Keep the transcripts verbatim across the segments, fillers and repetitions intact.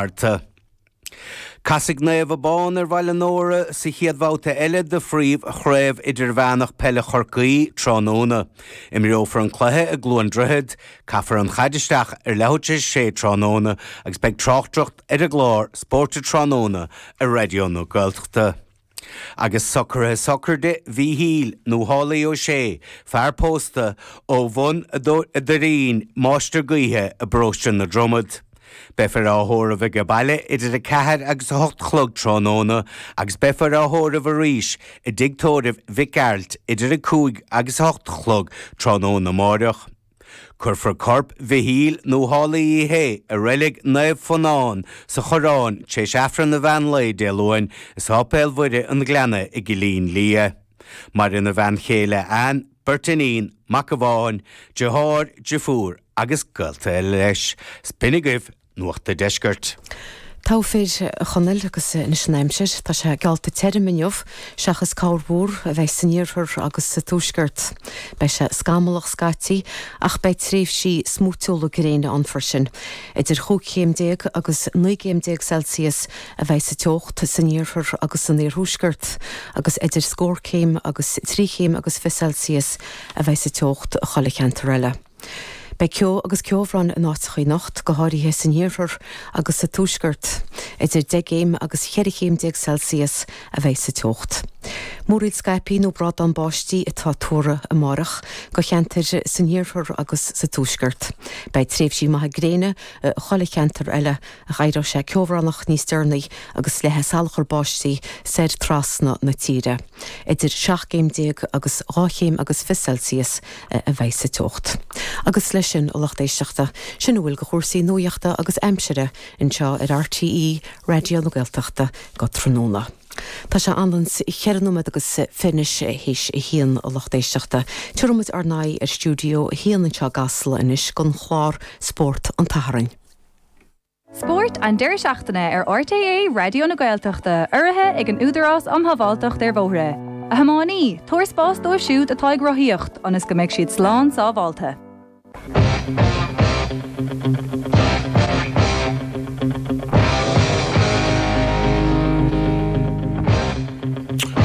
Márta. Casfaidh Naomh Abán ar Bhaile Nóra sa chéad bhabhta eile de Phríomh-Chraobh Idirmheánach Peile Chorcaí tráthnóna. Imreofar an cluiche i gCluain Droichead, caithfear an chaid isteach ar leathuair tar éis a sé tráthnóna agus beidh tráchtaireacht ar an gclár Spórt Tráthnóna ar Raidió na Gaeltachta. Agus socruithe sochraide Mhíchíl nó Holly Ó Sé, fear pósta ó Bhun a' Doirín, Máistir Gaoithe i bparóiste na Dromad. Beifear á thórramh ag baile idir a ceathair agus a hocht a chlog tráthnóna agus beifear á thórramh arís i dtigh tórraimh Mhic Gearailt idir a cúig agus a hocht a chlog tráthnóna amáireach. Cuirfear corp Mhichíl nó Holly Uí Shé i reilig Naomh Fionán sa Choireán tar éis Aifreann an mheán lae Dé Luain i Sáipéal Mhuire an Ghleanna i gCillín Liath. Maireann a bhean chéile Ann, beirt iníon, mac amháin, deartháir, deirfiúr agus gaolta eile leis. B'in agaibh Nuacht an Deiscirt. Togha fir, a Chonaill, agus anois an aimsir. Tá sé geallta tirim inniu, seachas corrmhúr a bheidh san iarthar agus sa tuaisceart. Beidh sé scamallach scaití, ach beidh tréimhsí smúitiúla gréine ann freisin. Idir chúig chéim déag agus naoi gcéim déag Celsius a bheidh sa teocht san iarthar agus san iarthuaisceart, agus idir scór céim agus trí chéim agus fiche Celsius a bheidh sa teocht chuile cheantar eile. Beidh ceo agus ceobhrán in áiteacha anocht, go háirithe san iarthar agus sa tuaisceart. Idir deich gcéim agus cheithre chéim déag Celsius a bheidh sa teocht. Múraíl scaipthe nó brádán báistí atá tuartha amárach do cheantair san iarthar agus sa tuaisceart. Beidh tréimhsí maithe gréine i chuile cheantar eile ach éireoidh sé ceobhránach níos deireanaí agus le salachar báistí soir trasna na tíre. Idir seacht gcéim déag agus dhá chéim agus fiche Celsius a bheidh sa teocht. Agus leis sin, a lucht éisteachta, sin a bhfuil de chúrsaí nuachta agus aimsire anseo ar RTÉ Raidió na Gaeltachta go tráthnóna. Tá sé anonn ceithre nóiméad agus fiche anois théis a haon, a lucht éisteachta. Tabharfaidh muid ár n-aghaidh ar stiúideo a haon anseo i gCasla anois don chlár Spórt an tSathairn. Spórt an deireadh seachtaine ar RTÉ Raidió na Gaeltachta, urraithe ag an Údarás um Shábháilteacht ar Bhóithre. A thiománaí, tabhair spás dóibh siúd atá ag rothaíocht, ionas go mbeidh siad slán sábháilte.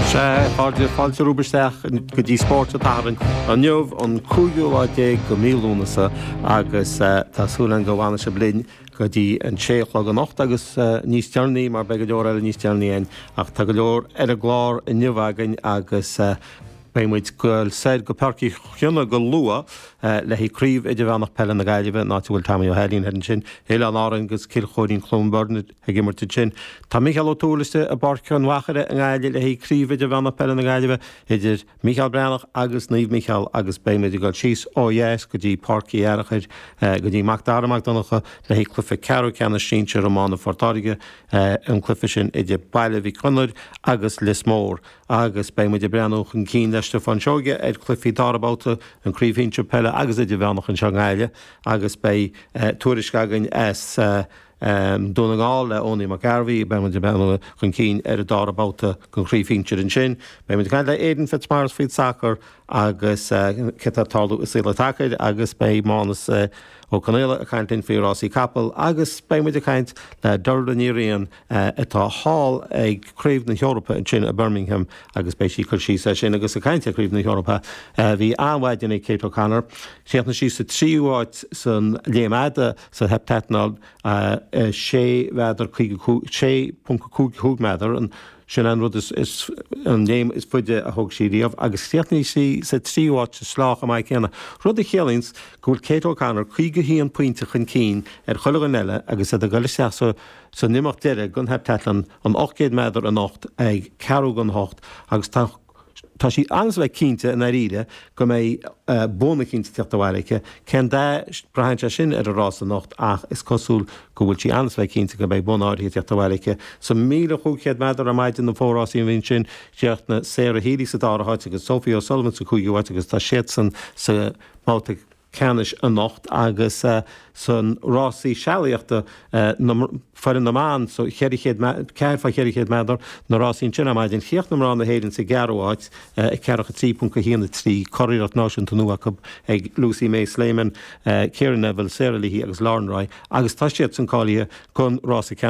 Sea, a chairde, fáilte romhaibh isteach go dtí Spórt an tSathairn inniu, an cúigiú lá déag de mhí Lúnasa, agus tá súil againn go bhfanfaidh sibh linn go dtí an sé a chlog anocht agus níos deireanaí mar beidh go leor eile níos deireanaí againn ach tá go leor ar an gclár inniu againn agus beidh muid ag goil soir go Páirc Uí Chionnaith go luath le haghaidh Craobh Idirmheánach Peile na Gaillimhe, an áit a bhfuil Tommy Ó hAilín thoir ansin, Oileáin Árann agus Cill Chóirín Cluain Bheirn ag imirt ansin. Tá Mícheál Ó Tuathail istigh i bPáirc an Mhachaire i nGaillimh le haghaidh Craobh Idirmheánach Peile na Gaillimhe idir Mícheál Breathnach agus Naomh Mícheál agus beidh muid ag dul síos ó dheas go dtí Páirc Uí Fhearchair go dtí Mac Dara Mac Donncha le haghaidh cluiche ceathrú ceannais sinsir iomána Phort Láirge, an cluiche sin idir Baile Mhic Gonair agus Lios Mór. Agus beidh muid ag breathnú chun cinn le Stiofán Seoige ar chluichí dara babhta an Craobh Shinsir Peile agus Idirmheánach anseo i nGaillimh agus beidh tuairisc againn as Dún na nGall le Owenie McGarvey. Beidh muid ag breathnú chun cinn ar an dara babhta den Chraobh Shinsir ansin. Beidh muid ag caint le Aidan Fitzmaurice faoin sacar agus cé atá ag tarlú i saol an tsacair agus beidh Mánus Ó Conaola ag caint linn faoi rásaí capall agus beidh muid ag caint le Dervla Ní Riain atá thall ag Craobh na hEorpa ansin i Birmingham agus beidh sí ag cur síos air sin agus ag caint ar Chraobh na hEorpa bhí an-mhaidin ag Kate O'Connor. Chríochnaigh sí sa tríú háit san léim fhada sa heptathlon, sé mhéadar caoga cúig, sé ponc cúig cúig méadar, an Sin an rud is, is, an léim is faide a thóg sí riamh agus chríochnaigh sí sa tríú háit sa sleá chomh maith céanna, rud a chiallaíonns go bhfuil Kate O'Connor caoga a haon pointe chun cinn ar chuile dhuine eile agus iad ag dul isteach sa, san imeacht deiridh den heptathlon, an ocht gcéad méadar anocht ag ceathrú don hocht agus tá, tá sí an-bheith cinnte i ndáiríre go mbeidh bonn eicínt ag teacht abhaile aici. Cén dath, braitheann sé sin ar an rás anocht ach is cosúil go bhfuil sí an-bheith cinnte go mbeidh bonn áirithe ag teacht abhaile aici. Sa míle chúig chéad méadar ar maidin na fórásaí a bhí ansin, chríochnaigh Sarah Healy sa dara háit agus Sophie O'Sullivan sa cúigiú háit agus tá siadsan sa mbabhta ceannais anocht agus san rásaí sealaíochta foireann na mban sa cheithre chéad ceathair fá cheithre chéad méadar, na rásaí ansin ar maidin. Chríochnaigh mná na hÉireann sa gceathrú háit ag ceathracha trí ponc a haon a trí, curiarracht náisiúnta nua acu ag Lucy May Slayman, Ciara Neville, Sarah Leahy agus Lauren Roy agus tá siadsan cáilithe don rása ceannais.